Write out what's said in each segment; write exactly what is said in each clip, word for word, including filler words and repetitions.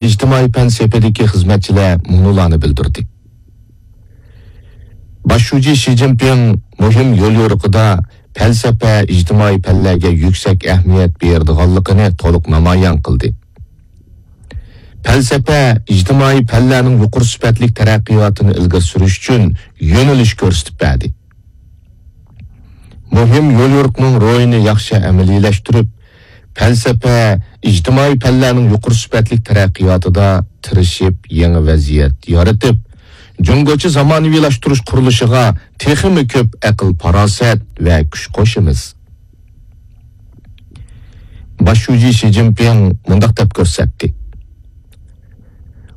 ئىجتىمائىي پەن سېپىدىكى خىزمەتچىلەر مۇنۇلارنى بىلدۈردى. باش شۇجى شى جىنپىڭ مۇھىم يوليورۇقىدا پەلسەپە، ئىجتىمائىي پەنلەرگە يۈكسەك ئەھمىيەت بېرىدىغانلىقىنى تولۇق نامايان قىلدى. پەلسەپە، ئىجتىمائىي پەنلەرنىڭ يۇقىرى سۈپەتلىك تەرەققىياتىنى ئىلگىرى سۈرۈش ئۈچۈن يۆنىلىش كۆرسىتىپ بەردى. مۇھىم يوليورۇقنىڭ روھىنى ياخشى ئەمەلىيلەشتۈرۈپ، پەلسەپە، ئىجتىمائىي پەنلەرنىڭ يۇقىرى سۈپەتلىك تەرەققىياتىدا تىرىشىپ، يېڭى ۋەزىيەت يارىتىپ، جۇڭگوچە زامانىۋىلاشتۇرۇش قۇرۇلۇشىغا تېخىمۇ كۆپ ئەقىل-پاراسەت ۋە كۈچ قوشىمىز. باش شۇجى شى جىنپىڭ مۇنداق دەپ كۆرسەتتى: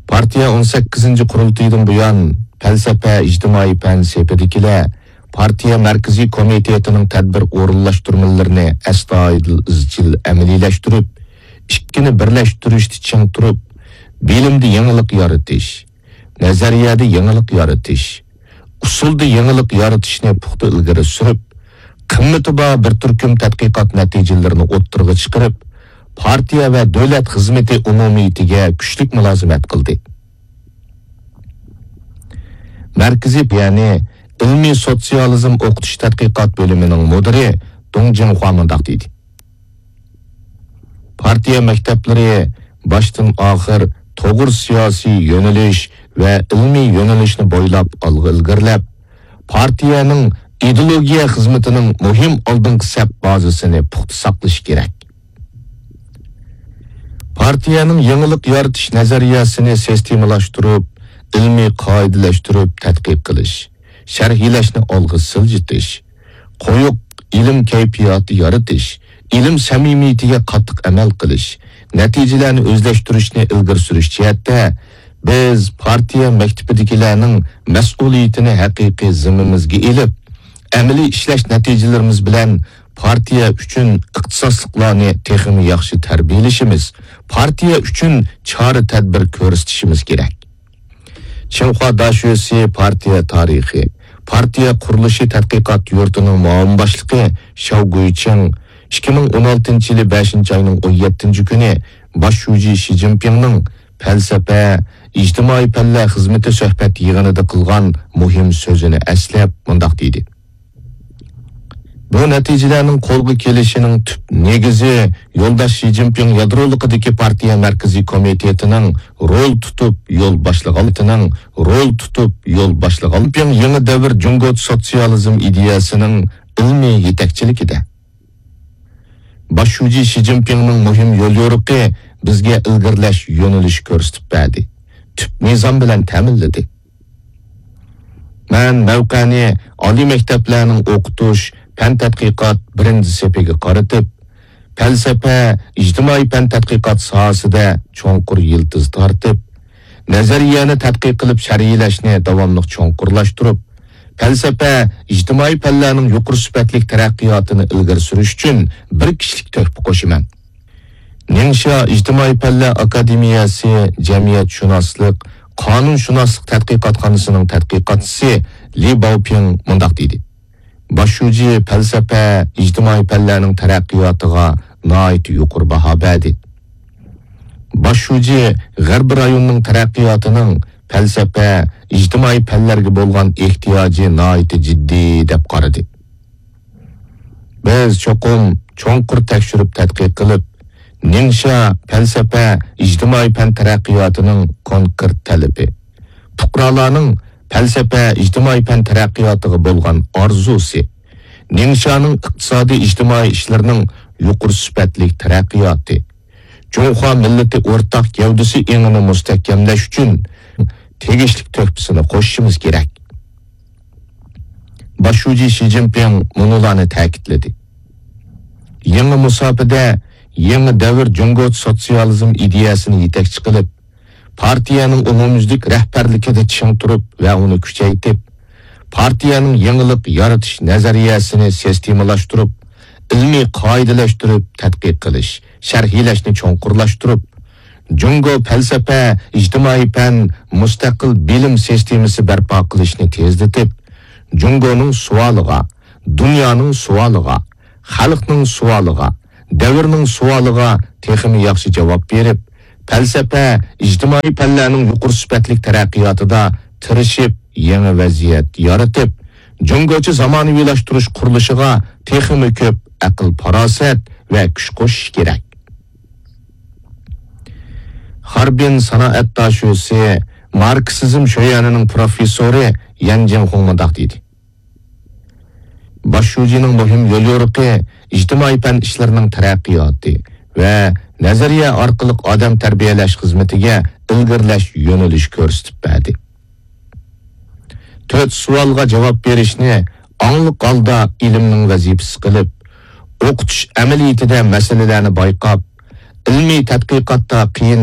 پارتىيە ئون سەككىزىنچى قۇرۇلتىيىدىن بۇيان پەلسەپە، ئىجتىمائىي پەن سېپىدىكىلەر پارتىيە مەركىزىي كومىتېتىنىڭ تەدبىر ئورۇنلاشتۇرمىلىرىنى ئەستايىدىل، ئىزچىل ئەمەلىيلەشتۈرۈپ، ئىككىنى بىرلەشتۈرۈشتە چىڭ تۇرۇپ، بىلىمدە يېڭىلىق يارىتىش، نەزەرىيەدە يېڭىلىق يارىتىش، ئۇسۇلدا يېڭىلىق يارىتىشنى پۇختا ئىلگىرى سۈرۈپ، قىممىتى بار بىر تۈركۈم تەتقىقات نەتىجىلىرىنى ئوتتۇرىغا چىقىرىپ، پارتىيە ۋە دۆلەت خىزمىتى ئومۇمىيىتىگە كۈچلۈك مۇلازىمەت قىلدى. مەركىزىي، يەنى ئىلمىي سوتسىيالىزم ئوقۇتۇش تەتقىقات بۆلۈمىنىڭ مۇدىرى دۇڭ جىڭخۇا مۇنداق دېدى: پارتىيە مەكتەپلىرى باشتىن ئاخىر توغرا سىياسىي يۆنىلىش ۋە ئىلمىي يۆنىلىشنى بويلاپ ئالغا ئىلگىرىلەپ، پارتىيەنىڭ ئىدېئولوگىيە خىزمىتىنىڭ مۇھىم ئالدىنقى سەپ بازىسىنى پۇختا ساقلىشى كېرەك. پارتىيەنىڭ يېڭىلىق يارىتىش نەزەرىيەسىنى سىستېمىلاشتۇرۇپ، ئىلمىي قائىدىلەشتۈرۈپ تەتقىق قىلىش، شەرھلەشنى ئالغا سىلجىتىش، قويۇق ئىلىم كەيپىياتى يارىتىش، ئىلىم سەمىمىيىتىگە قاتتىق ئەمەل قىلىش، نەتىجىلەرنى ئۆزلەشتۈرۈشنى ئىلگىرى سۈرۈش جەھەتتە، بىز پارتىيە مەكتىپىدىكىلەرنىڭ مەسئۇلىيىتىنى ھەقىقىي زىممىمىزگە ئېلىپ، ئەمەلىي ئىشلەش نەتىجىلىرىمىز بىلەن پارتىيە ئۈچۈن ئىختىساسلىقلارنى تېخىمۇ ياخشى تەربىيەلىشىمىز، پارتىيە ئۈچۈن چارە-تەدبىر كۆرسىتىشىمىز كېرەك. چىڭخۇا داشۆسى پارتىيە تارىخى، پارتىيە قۇرۇلۇشى تەتقىقات يۇرتىنىڭ مۇئاۋىن باشلىقى شياۋ گۇيچىڭ ئىككى مىڭ ئون ئالتىنچى يىلى بەشىنچى ئاينىڭ ئون يەتتىنچى كۈنى باش شۇجى شى جىنپىڭنىڭ پەلسەپە، ئىجتىمائىي پەنلەر خىزمىتى سۆھبەت يىغىنىدا قىلغان مۇھىم سۆزىنى ئەسلەپ مۇنداق دېدى: بۇ نەتىجىلەرنىڭ قولغا كېلىشىنىڭ تۈپ نېگىزى يولداش شى جىنپىڭ يادرولۇقىدىكى پارتىيە مەركىزىي كومىتېتىنىڭ رول تۇتۇپ يول باشلىغانلىقىنىڭ، رول تۇتۇپ يول باشلىغان يېڭى دەۋر جۇڭگو سوتسىيالىزم ئىدىيەسىنىڭ ئىلمىي يېتەكچىلىكىدە. باش شۇجى شى جىنپىڭنىڭ مۇھىم يوليورۇقى بىزگە ئىلگىرىلەش يۆنىلىشى كۆرسىتىپ بەردى، تۈپ نىزام بىلەن تەمىنلىدى. مەن مەۋقەنى ئالىي مەكتەپلەرنىڭ ئوقۇتۇش، پەن تەتقىقات بىرىنچى سېپىگە قارىتىپ، پەلسەپە، ئىجتىمائىي پەن تەتقىقات ساھەسىدە چوڭقۇر يىلتىز تارتىپ، نەزەرىيەنى تەتقىق قىلىپ شەرھلەشنى داۋاملىق چوڭقۇرلاشتۇرۇپ، پەلسەپە، ئىجتىمائىي پەنلەرنىڭ يۇقىرى سۈپەتلىك تەرەققىياتىنى ئىلگىرى سۈرۈش ئۈچۈن بىر كىشىلىك تۆھپە قوشىمەن. نىڭشيا ئىجتىمائىي پەنلەر ئاكادېمىيەسى جەمئىيەتشۇناسلىق، قانۇنشۇناسلىق تەتقىقاتخانىسىنىڭ تەتقىقاتچىسى لى باۋپىڭ مۇنداق دېدى: باش شۇجى پەلسەپە، ئىجتىمائىي پەنلەرنىڭ تەرەققىياتىغا ناھايىتى يۇقىرى باھا بەردى. باش شۇجى غەربىي رايوننىڭ تەرەققىياتىنىڭ پەلسەپە، ئىجتىمائىي پەنلەرگە بولغان ئېھتىياجى ناھايىتى جىددىي دەپ قارىدى. بىز چوقۇم چوڭقۇر تەكشۈرۈپ تەتقىق قىلىپ، نىڭشيا پەلسەپە، ئىجتىمائىي پەن تەرەققىياتىنىڭ كونكرېت تەلىپى، پۇقرالارنىڭ پەلسەپە، ئىجتىمائىي پەن تەرەققىياتىغا بولغان ئارزۇسى، نىڭشيانىڭ ئىقتىسادىي ئىجتىمائىي ئىشلىرىنىڭ يۇقىرى سۈپەتلىك تەرەققىياتى، جۇڭخۇا مىللىتى ئورتاق گەۋدىسى ئېڭىنى مۇستەھكەملەش ئۈچۈن تېگىشلىك تۆھپىسىنى قوشۇشىمىز كېرەك. باش شۇجى شى جىنپىڭ مۇنۇلارنى تەكىتلىدى: يېڭى مۇساپىدە يېڭى دەۋر جۇڭگو سوتسىيالىزم ئىدىيەسىنى يېتەكچى قىلىپ، پارتىيەنىڭ ئومۇميۈزلۈك رەھبەرلىكىدە چىڭ تۇرۇپ ۋە ئۇنى كۈچەيتىپ، پارتىيەنىڭ يېڭىلىق يارىتىش نەزەرىيەسىنى سىستېمىلاشتۇرۇپ، ئىلمىي قائىدىلەشتۈرۈپ تەتقىق قىلىش، شەرھلەشنى چوڭقۇرلاشتۇرۇپ، جۇڭگو پەلسەپە، ئىجتىمائىي پەن، مۇستەقىل بىلىم سىستېمىسى بەرپا قىلىشنى تېزلىتىپ، جۇڭگونىڭ سوئالىغا، دۇنيانىڭ سوئالىغا، خەلقنىڭ سوئالىغا، دەۋرنىڭ سوئالىغا تېخىمۇ ياخشى جاۋاب بېرىپ، پەلسەپە، ئىجتىمائىي پەنلەرنىڭ يۇقىرى سۈپەتلىك تەرەققىياتىدا تىرىشىپ، يېڭى ۋەزىيەت يارىتىپ، جۇڭگوچە زامانىۋىلاشتۇرۇش قۇرۇلۇشىغا تېخىمۇ كۆپ ئەقىل-پاراسەت ۋە كۈچ قوشۇش كېرەك. خاربىن سانائەت داشۆسى، ماركسىزم شۆيۈەنىنىڭ پروفېسسورى يەن جىڭخۇڭ مۇنداق دېدى: باش شۇجىنىڭ مۇھىم يوليورۇقى ئىجتىمائىي پەن ئىشلىرىنىڭ تەرەققىياتى ۋە نەزەرىيە ئارقىلىق ئادەم تەربىيەلەش خىزمىتىگە ئىلگىرىلەش يۆنىلىشى كۆرسىتىپ بەردى. تۆت سوئالغا جاۋاب بېرىشنى ئاڭلىق ھالدا ئىلىمنىڭ ۋەزىپىسى قىلىپ، ئوقۇتۇش ئەمەلىيىتىدە مەسىلىلەرنى بايقاپ، ئىلمىي تەتقىقاتتا قىيىن